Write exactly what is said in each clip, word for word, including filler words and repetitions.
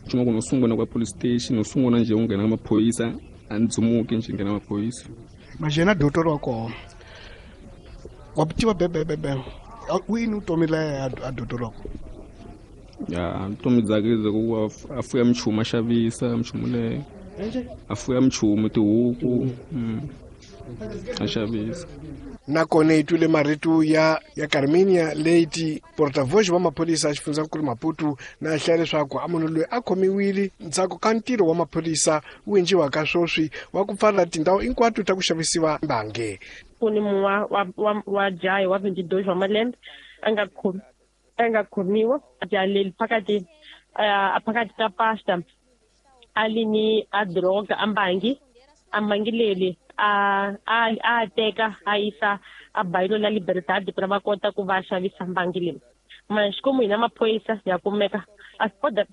Nchumu ku no sungula kwa police station no sungula nje u nghena maphoyisa a ndzumuki nje nghena maphoyisa majena doctor wa kona wa tiva bebebebe wini vutomi leya a doctor wa kona ya vutomi byakhe bya ku a fuya minchumu a xavisa minchumu leyo a fuya minchumu tihuku a xavisa. Nakona hi twile marito ya ya Carminia Leite portavoz wa maphorisa xifundzankulu Maputo na hlaya leswaku a munhu loyi a khomiwile ndzhaku ka ntirho wa maphorisa wu endliwaka sweswi wa ku pfala tindhawu hinkwato ta ku xavisiwa mbange. Ku ni munhu wa wa wa jaha wa twenty-two wa malembe a nga khomi a nga khomiwa jaha leri phakathi a phakathi ka pasta a li ni a droga a mbangi a mbangi leri a a a teka a yisa a bayilo la Libertad ku va kota ku va xavisa mbangi leyi. Mara xikomu hina maphorisa ya kumeka a kota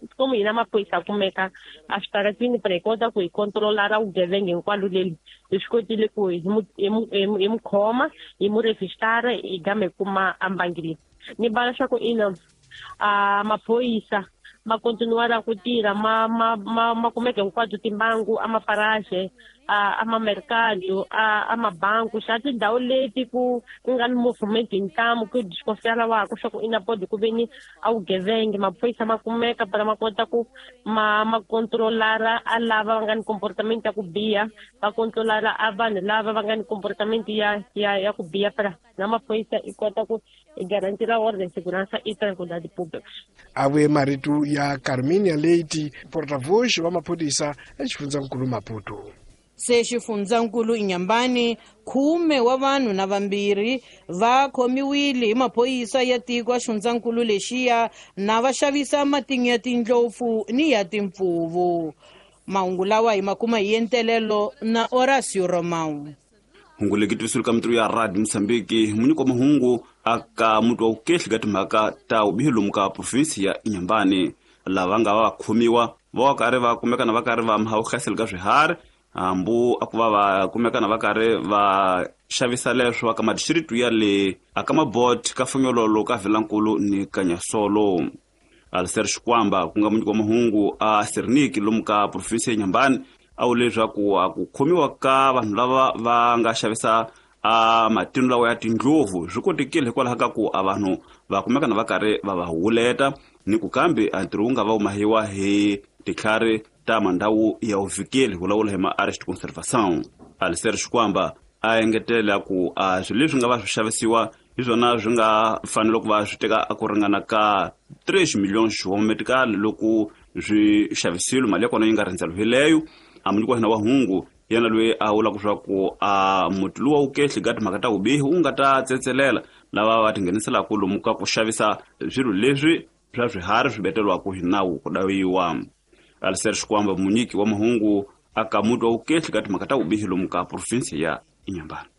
xikomu hina maphorisa ya kumeka a switaratini para hi kota ku hi controlara ra vugevenga hinkwalo leli hi swi kotile ku hi mu hi mu hi mu khoma hi mu registara hi gama hi kuma a mbangi leyi. Ni bala swa ku ina a maphorisa ma continuar ku tirha ma ma ma ma kumeka hinkwato timbangu a maparaje a a mamercado a a mabanku xa tindhawu leti ku ku nga ni movement hi ntamu ku desconfiar wa ku swa ku ina podi ku veni a vugevenge maphorisa ma kumeka para ma kota ku ma ma controlara a lava va nga ni comportament ya ku biha va controlara a vanhu lava va nga ni comportament ya ya ya ku biha para na maphorisa i kota ku garantir a ordem segurança e tranquilidade pública. A vuye marito ya Carminia Leite portavoz wa maphorisa exifundzankulu Maputo. Se xifundzankulu Inhambane khume wa vanhu na vambirhi va khomiwile hi maphorisa ya tiko a xifundzankulu lexiya na va xavisa matinyo ya tindlopfu ni ya timpfuvu. Mahungu lawa hi ma kuma hi entelelo na Horacio Romão. Hungu leki twisulu ka mitirho ya Radio Mozambique munyiko wa mahungu aka muti wa vukehli ka timhaka ta vubihi lomu ka provinsi ya Inhambane lava nga va khomiwa va karhi va kumekana va karhi va mahawuhlaselo ka swiharhi hambu a ku va va kumekana va karhi va xavisa leswo ka madistricts ya le aka mabot ka Fonyololo ka Vilankulu ni Kanyasolo. Alistair Xikwamba ku nga munyiko wa mahungu a Serniki lomu ka provinsi ya Inhambane a vule leswaku a ku khomiwa ka vanhu lava va nga xavisa a matino lawa ya tindlovu swi kotekile hikwalaho ka ku a vanhu va kumekana va karhi va va huleta ni ku kambe a ntirho wu nga va wu mahiwa hi titlhari ta mandhawu ya vuvikeli vulavula hi ma-arrest conservation. Alistair Xikwamba a engetela ku a swilo leswi nga va swi xavisiwa hi swona swi nga fanele ku va swi teka a ku ringana ka three millions wa medical loko swi xavisiwile mali ya kona yi nga rhendzeriwileyo. A munyiki wa hina wa hungu yena loyi a vulaka leswaku a muti luwa wu kehli ka timhaka ta vubihi wu nga ta tsetselela lava va tingheniselaka lomu ka ku xavisa swilo leswi swa swiharhi swi beteriwaka hi nawu ku dawiwa. Alistair Xikwamba munyiki wa mahungu aka muti wa vukehli ka timhaka ta vubihi lomu ka provinsi ya Inhambane.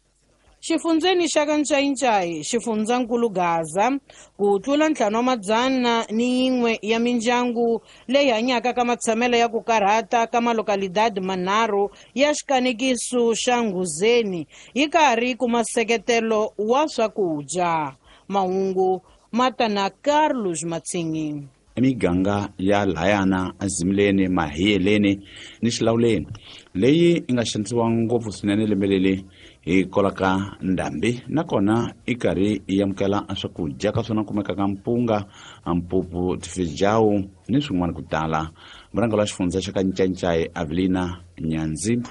Xifundzeni xa ka Ncayincai xifundzankulu Gaza ku tlula ntlhanu wa madzana ni yin'we ya mindyangu leyi hanyaka ka matshamelo ya ku karhata ka malokalidadi manharhu ya xikanekiso xa Nghuzeni yi karhi kuma nseketelo wa swakudya. Mahungu ma ta na Carlos Matsingi. Emiganga ya layana azimleni mahiyeleni ni xilawuleni leyi yi nga xanisiwa ngopfu swinene lembe leri hi kolaka ndhambi nakona i karhi yi amukela swakudya ka swona kumekaka mpunga mpupu tifejawu ni swin'wana ku tala. Murhangeri wa xifundza xa ka Ncayincai Avelina Nyanzimbu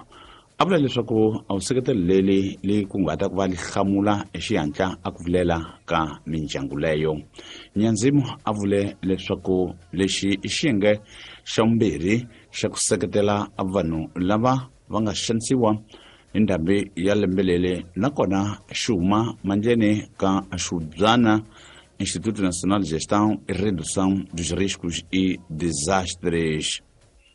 a vula leswaku a wu seketelo leri li kunguhata ku va li hlamula hi xihatla a ku vilela ka mindyangu leyo. Nyanzimu a vule leswaku lexi i xiyenge xa vumbirhi xa ku seketela vanhu lava va nga xanisiwa hi ndhambi ya lembe leri nakona xi huma mandleni ka Xubyana Instituto Nacional de Gestão e Redução dos Riscos e Desastres.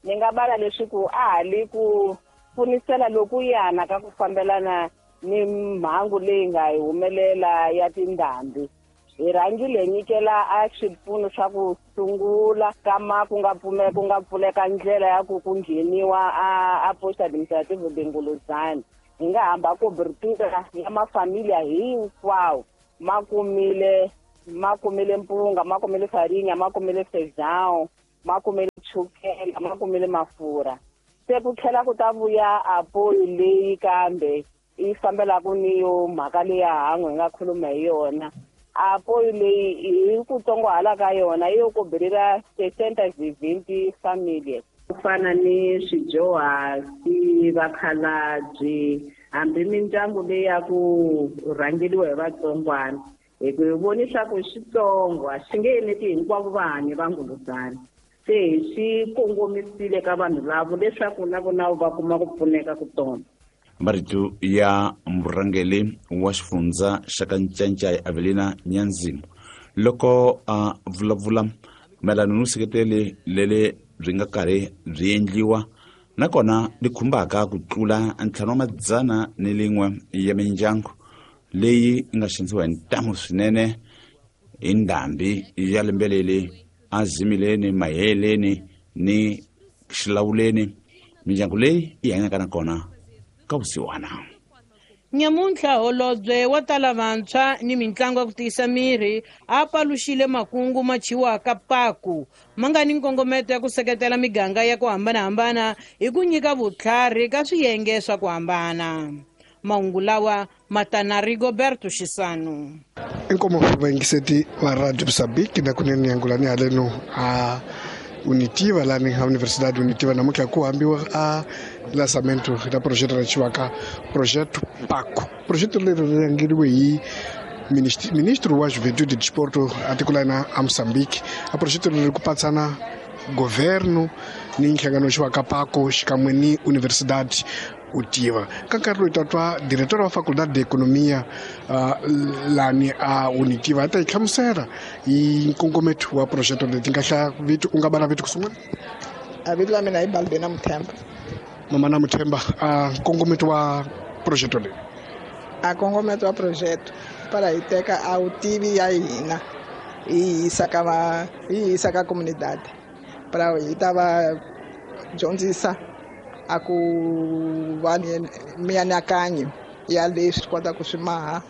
Ni nga bala leswaku a ha le ku pfunisela loku yana ka ku fambelana ni mhangu leyi nga hi humelela ya tindhambi. Hi rhangile nyikela a swipfuno swa ku sungula kama ku nga pfumela ku nga pfuleka ndlela ya ku ku ngheniwa a a post administrative de Nguluzana. Hi nga hamba cobertura ya mafamilia hinkwawo ma kumile ma kumile mpunga, ma kumile farinha, ma kumile feijão, ma kumile chukela ma kumile mafurha. Se ku tlhela ku ta vuya apoyo leyi kambe yi fambelaka ni yo mhaka leya han'we hi nga khuluma hi yona. Apoyo leyi hi ku tsongohala ka yona yi yo kobelela sessenta e vinte famílias. Ku fana ni swidyuhari, vakhalabye, hambi mindyangu leyi ya ku rhangeriwa hi vatsongwana. Hi ku hi voni swa ku xitsongo a xi nge eneti hinkwavo vahanyi va Nguluzana. Se hi swi kongomisile ka vanhu lavo leswaku na vona va kuma ku pfuneka ku tona. Marito ya murhangeri wa xifundza xa ka Ncancai Avelina Nyanzimu loko a vulavula mayelana no seketele lele byi nga karhi byi endliwa nakona li khumbaka ku tlula ntlhanu wa madzana ni lin'we ya mindyangu leyi nga xanisiwa hi ntamu swinene hi ndhambi ya lembe leri azimileni, maheleni ni xilawuleni. Mindyangu leyi yi hanyaka nakona ka vusiwana. Nyamuntlha holobye wa tala vantshwa ni mitlangu ya ku tiyisa miri a paluxile makungu ma chiwaka paku ma nga ni nkongometo ya ku seketela miganga ya ku hambanahambana hi ku nyika vutlhari ka swiyenge swa ku hambana. Mahungu lawa ma ta na Rigoberto Xisano. Inkomo vayingiseti va Radio Moçambique na kunene yangulani haleno a Unitiva lani a Universidade Unitiva namuntlha ku hambiwa a lançamento da projeto ra chiwaka projeto Paco. Projeto leri ri rhangeriwe hi ministro wa Juventude e Desporto a tiko la hina a Moçambique. A projeto leri ku patsana governo ni nhlangano xiwaka Paco xikan'we ni Universidade Utiva. Ka nkarhi lowu tatwa diretor wa Faculdade de Economia uh, lani a Unitiva ta yi hlamusela hi nkongometo wa projeto leti nga hlaya vito u nga bala vito ku sungula. A vito la mina i Balbena Muthemba. Mama na Muthemba, a nkongometo wa projeto leyi. A nkongometo wa projeto para hi teka a vutivi ya hina hi yisa ka va hi yisa ka comunidade para hi ta va dyondzisa a ku va ni mianakanyo ya leswi kota ku swi maha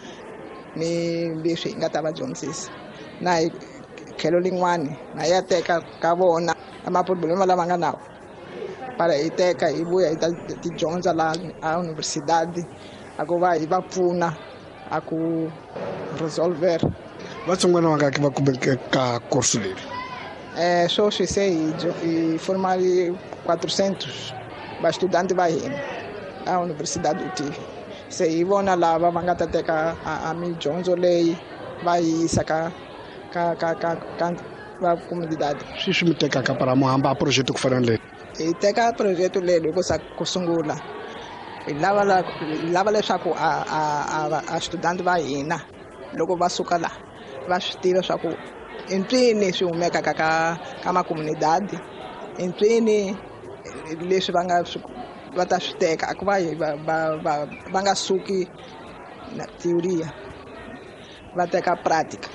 ni leswi hi nga ta va dyondzisa. Na hi tlhelo lin'wani na ya teka ka vona maproblema lama nga nawo para hi teka hi vuya hi ta ti dyondza laha a universidade a ku va hi va pfuna a ku resolver. Vatsongwana vangaki va kumeke ka course leri? Eh, sweswi se hi hi formali quatrocentos vastudanti va hina a Universidade Utiva. Se hi vona lava va nga ta teka a midyondzo leyi va yi yisa ka ka ka ka ka va comunidade. Swi swi mi tekaka para mo hamba a projeto ku fana na leyi? Hi teka projeto leyi loko sa ku sungula hi lava la hi lava leswaku a a a a studanti va hina loko va suka la va swi tiva swa ku i mpfini swi humekaka ka ka makomunidadi, i mpfini leswi va nga va ta swi teka a ku va va va va va nga suki na teoria va teka pratica.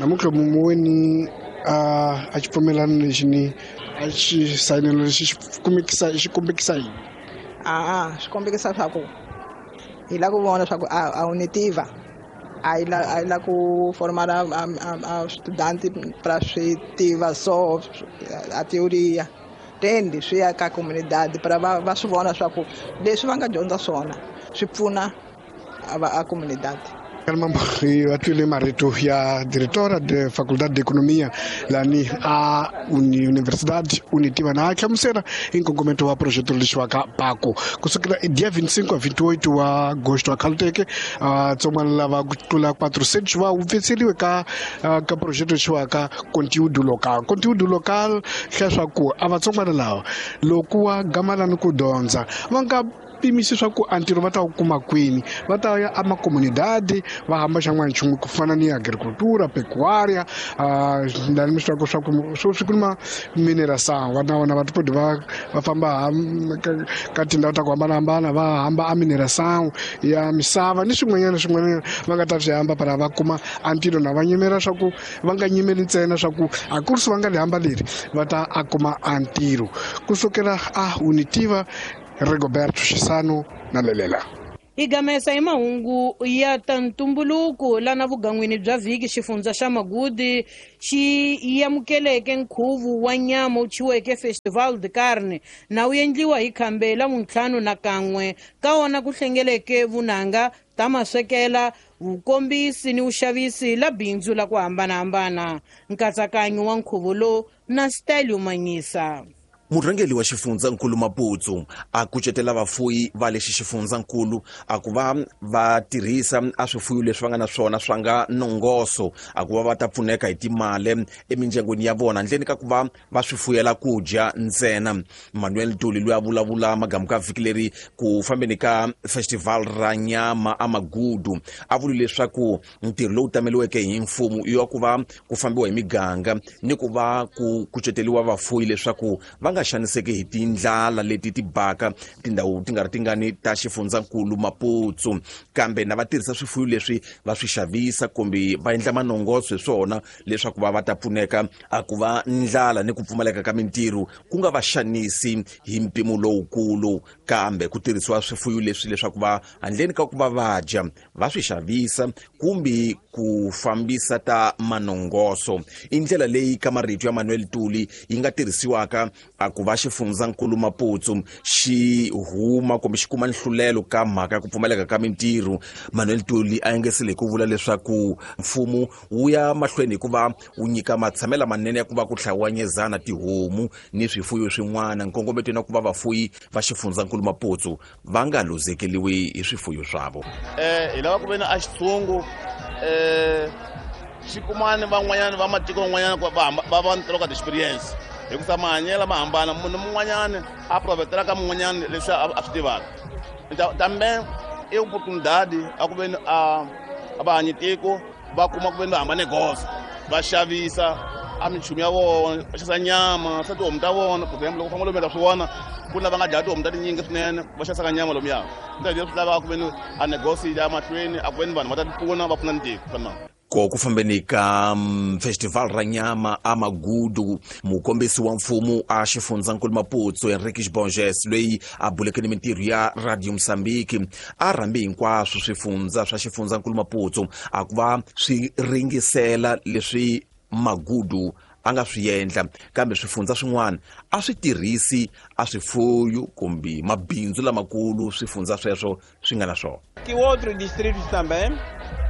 Namuntlha muweni a a xipfumelano lexi ni a xi sayinelo lexi xi kumekisa xi kombekisa yini? A a swi kombekisa swa ku hi lava ku vona swa ku a a Unitiva a yi la a yi la ku formar a a estudante para swi tiva so a teoria tendi swi ya ka comunidade para va va swi vona swa ku leswi va nga dyondza swona swi pfuna a va a comunidade. Mambo va twile marito ya diretora de Faculdade de Economia lani a Universidade Unitiva na a hlamusela hi nkongometo wa projeto lexiwaka Paco kusukela dia vinte e cinco a vinte e oito wa agosto a Caltech. Vatsongwana lava ku tlula quatrocentos va hupfetseriwe ka ka projeto lexiwaka conteúdo local. Conteúdo local hlaya swa ku a vatsongwana lava loko wa gamalani ku dyondza va nga pimisi swa ku a ntirho va ta wu kuma kwini, va ta ya amakomunidade va hamba xan'wana nchumu ku fana ni agricultura, pecuária, lani mi swi tivaka swa ku swo swi ku ni ma mineração va na vona va tipodi va va famba ka tindhawu ta ku hambanahambana va hamba a mineração ya misava ni swin'wanyana swin'wanyana va nga ta swi hamba para va kuma a ntirho na va nyimela swa ku va nga nyimeli ntsena swa ku a ku ri va nga li hamba leri va ta a kuma a ntirho kusukela a Unitiva. Rigoberto Xisano na Lelela. Hi gamesa hi mahungu ya ta ntumbuluko lana vugan'wini bya vhiki xifundza xa Magudi xi amukeleke nkhuvo wa nyama wu thyiweke Festival de Carne na wu endliwa hi khambe la vuntlhanu na kan'we ka wona ku hlengeleke vunanga ta maswekela vukombisi ni vuxavisi la bindzu la ku hambanahambana. Nkatsakanyo wa nkhuvo lowu na style yo manyisa. Murhangeri wa xifundzankulu Maputo a kucetela vafuyi va lexi xifundzankulu a ku va va tirhisa a swifuyo leswi va nga na swona swa nga nongoso a ku va va ta pfuneka hi timali emindyangwini ya vona handleni ka ku va va swi fuyela ku dya ntsena. Manuel Ntuli loyi a vulavula magamu ka vhiki leri ku fambeni ka festival ra nyama a Magudu a vule leswaku ntirho lowu tameliweke hi mfumo i wa ku va ku fambiwa hi miganga ni ku va ku kuceteriwa vafuyi leswaku va nga xaniseki hi tindlala leti ti baka tindhawu ti nga ri tingani ta xifundzankulu Maputo, kambe na va tirhisa swifuyo leswi va swi xavisa kumbe va endla manongoso hi swona leswaku va va ta pfuneka a ku va ndlala ni ku pfumaleka ka mintirho ku nga va xanisi hi mpimo lowukulu, kambe ku tirhisiwa swifuyo leswi leswaku va handleni ka ku va va dya va swi xavisa kumbe ku fambisa ta manongoso. I ndlela leyi ka marito ya Manuel Ntuli yi nga tirhisiwaka a ku va xifundzankulu Maputo xi huma kumbe xi kuma nhlulelo ka mhaka ya ku pfumaleka ka mintirho. Manuel Ntuli a engesele hi ku vula leswaku mfumo wu ya mahlweni hikuva wu nyika matshamelo manene ya ku va ku hlawanyezana tihomu ni swifuyo swin'wana nkongometweni wa ku va vafuyi va xifundzankulu Maputo va nga luzekeriwi hi swifuyo swavo. Eh hi lava ku ve na a xitshungu eh xi kumani van'wanyana va matiko van'wanyana ku va va va ntirho ka experience hikusa mahanyelo ma hambana, munhu mun'wanyana a provetela ka mun'wanyana leswi a swi tivaka tambe i oportunidade a ku veni a a va hanyi tiko va kuma ku veni va hambane goza va xavisa a minchumu ya vona va xavisa nyama swa tihomu ta vona. For example, loko famba lomu swi vona ku na va nga dlaya tihomu ta tinyingi swinene va xavisaka nyama lomuya leswi lavaka ku veni a negosi ya mahlweni a ku veni vanhu va ta ti pfuna va pfuna ni tiko fana. Ko ku fambeni ka festival ra nyama a Magudu, mukombisi wa mfumo a xifundzankulu Maputo Henriques Borges loyi a buleke ni mintirho ya Radio Mozambique a rhambi hinkwaswo swifundza swa xifundzankulu Maputo a ku va swi ringisela leswi Magudu a nga swi endla, kambe swifundza swin'wana a swi tirhisi a swifuyo kumbe mabindzu lamakulu swifundza sweswo swi nga na swona. Que outros distritos também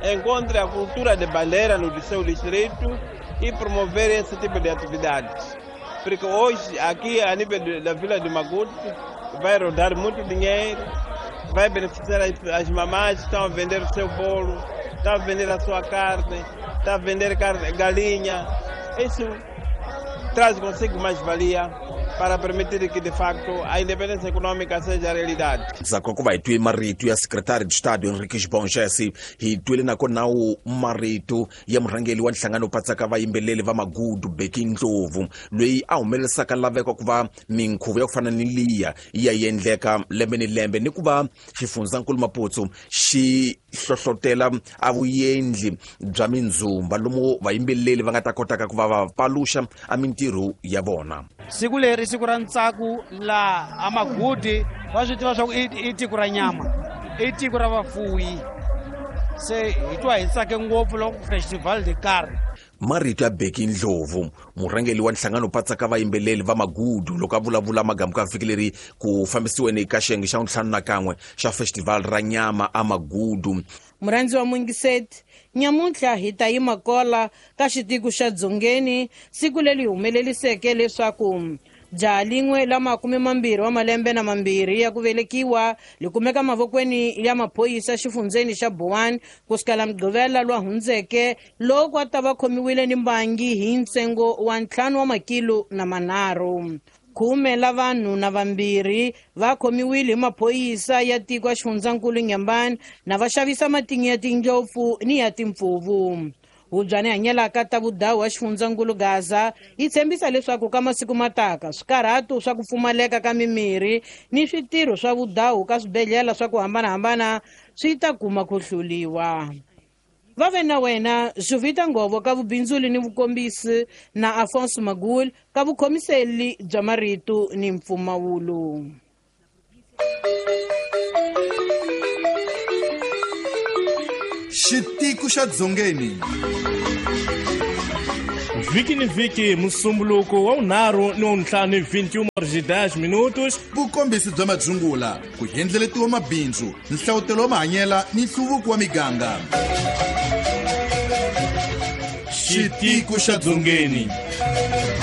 encontre a cultura de bandeira no seu distrito e promover esse tipo de atividades. Porque hoje, aqui a nível da Vila de Magude, vai rodar muito dinheiro, vai beneficiar as, as mamás que estão a vender o seu bolo, estão a vender a sua carne, estão a vender carne, galinha. Isso traz consigo mais-valia para permitir que, de facto, a independência econômica seja a realidade. Ndzhaku ka ku va hi twe marito ya Secretary de Estado Henriques Borges, hi twile nakona wu marito ya murhangeri wa nhlangano patsaka vayimbeleri va Magudu Bheki Ndlovu loyi a humelerisaka laveko ku va minkhuvo ya ku fana ni liya yi ya endleka lembe ni lembe ni ku va xifundzankulu Maputo xi hlohlotela a vuendli bya mindzumba lomu vayimbeleri va nga ta kotaka ku va va paluxa a mintirho ya vona. Siku leri siku ra ntsako la a Magudi va swi tiva swa ku i tiko ra nyama, i tiko ra vafuwi, se hi twa hi tsake ngopfu loko Festival de Carne. Marito ya Bheki Ndlovu murhangeri wa nhlangano patsaka vayimbeleri va Magudu loko a vulavula magamu ka vhiki leri ku fambisiweni ka xiyenge xa ntlhanu na kan'we xa festival ra nyama a Magudu. Murhandzi wa Mungiseti, nyamuntlha hi ta yima kola ka xitiko xa Dzongeni siku leri humeleliseke leswaku jaha lin'we la makume mambirhi wa malembe na mambirhi ya ku velekiwa li kumeka mavokweni ya maphorisa xifundzeni xa Boane kusukela Mugqivela lwa hundzeke loko a ta va khomiwile ni mbangi hi ntsengo wa ntlhanu wa makilo na manharhu. Khume la vanhu na vambirhi va khomiwile hi maphorisa ya tiko ya xifundzankulu Nyambani na va xavisa matinyo ya tindlopfu ni ya timpfuvu. Hubyani hanyelaka ta vudawu wa xifundzankulu Gaza yi tshembisa leswaku ka masiku mataka swikarhato swa ku pfumaleka ka mimirhi ni switirho swa vudawu ka swibedhlele swa ku hambanahambana swi ta kuma ku hluliwa. Va ve na wena Juvita Ngovo ka vubindzuli ni vukombisi na Afonso Magul ka vukhomiseli bya marito ni mpfumawulo. Xitiku xa Dzongeni. Vhiki ni vhiki musumbuluko wa vunharhu ni wa vuntlhanu hi vinte e uma horas e dez minutos. Vukombisi bya madzungula, ku endleletiwa mabindzu, nhlawutelo wa mahanyela ni nhluvuko wa miganga. Xitiku xa Dzongeni.